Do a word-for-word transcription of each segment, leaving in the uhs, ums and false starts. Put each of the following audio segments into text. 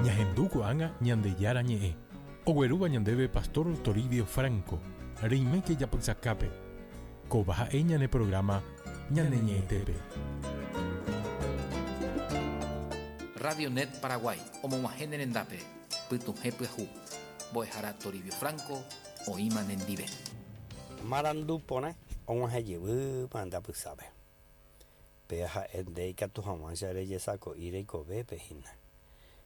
Ñahendu ko'ág̃a Ñandejára ñe'ẽ. Oguerúva ñandéve Pastor Toribio Franco. Reiméke japysakápe. Kóva ha'e ñane programa Ñane Ñe'ẽtépe. Radio Net Paraguay, omog̃uahẽ ne rendápe, pytuhẽ pyahu. Mbo'ehára Toribio Franco, oĩma nendive. Marandu porã og̃uahẽ jevýma ndapysápe. Péa ha'e nde ikatu hag̃uáicha rejesako'i reikovépe hína.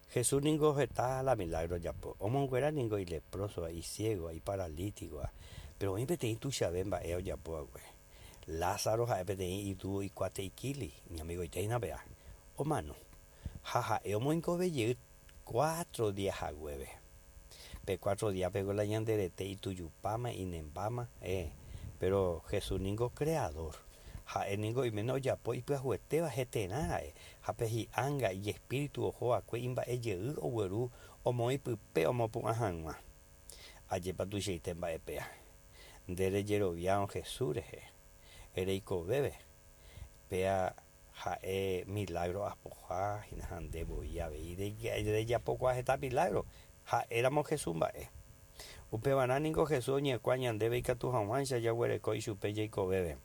Jesús ningo heta la milagro ojapo. Omonguera ningo ileproso, isiego, iparalítico. Pero oĩ peteĩ tuichave mba'e ojapova'ekue. Lázaro ha'e peteĩ itu ikuate ikili, iñamigoite hína péa. Omano. Ha ha'e omoingovejey cuatro días haguépe. Pe cuatro días pego la ñanderete itujupáma, inembáma, eh. Pero Jesús ningo creador. Ha'e ningo oiméne ojapo ipyahuetéva heterã ra'e. Ha pe hi'ánga ijespíritu oho'akue imba'ejey ogueru omoĩ pype omopu'ã hag̃ua. Ajépa tuichaite mba'e péa. Nde rejeroviárõ Jesús rehe. Ereikovéve. Péa ha'e milagro apoha hína ha nde voi avei rejapokuaa heta milagro. Ha'éramo Jesús mba'e. Upevarã ningo Jesús oñekua ñandéve ikatu hag̃uáicha jaguereko ichupe jaikovéve.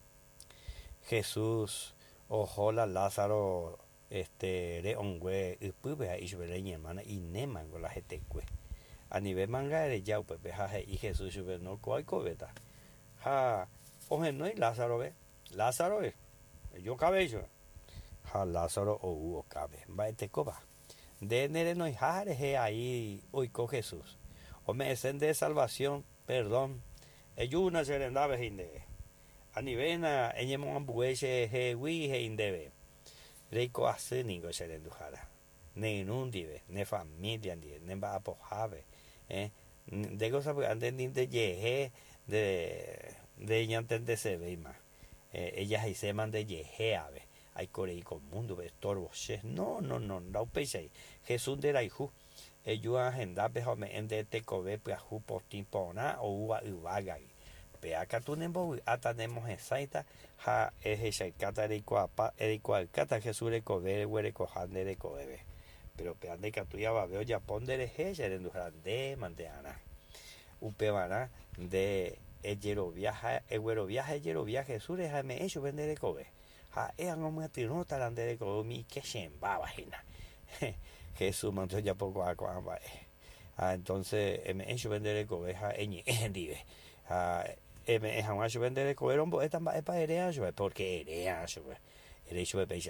Jesús oho la Lázaro este re'õngue ypýpe ha ichupe iñermana inémango la hetekue. Anive manga ereja upépe ha he'i Jesús chupe no ko oikovéta. Ha ohenói Lázaro-pe. Lázaro ejokavéi chupe. Ha Lázaro ou okápe. Mba'etekópa. Nde nerenoiha rehe ahí oiko Jesús. Ome'ẽse nde salvación, perdón. Ejúna che rendápe he'i ndéve. Anivéna eñemoambue chehegui he'i ndéve. Reiko asy ningo che renduhára. Ne irũ ndive, ne familia ndive, ne mba'apohápe. Eh? Ndéko sapy'ánte ndejehe nde nde ñantendesevéima. Eh, ejahaiséma ndejehe ave. Aikorei ko mundo-pe estorbo che. No, no, no, ndaupéichai. Jesús nderayhu. Eju hendápe ha ome'ẽ nde tekove pyahu potĩ porã oúva yvágagui. Péa katu nembovy'áta nemohesãita ha ehechaukáta reikuaapa reikuaaukáta Jesús rekove reguerekoha nde rekovépe. Pero péa ndaikatúi avave ojapo nderehe che renduhára nde mante'arã. Upevarã nde ejerovia ha eguerovia ha ejerovia Jesús rehe ha eme'ẽ chupe nde rekove. Ha'e ag̃omyatyrõtara nde rekove umi ikechẽmbáva hína. Jesús mante ojapokuaa ko'ã mba'e. Ha entonces eme'ẽ chupe nde rekove ha eñe'ẽ hendive. Ha eme'ẽ hag̃ua chupe nde rekove rombo'éta mba'épa eréa chupe, porque eréa chupe. Ere chupe péicha.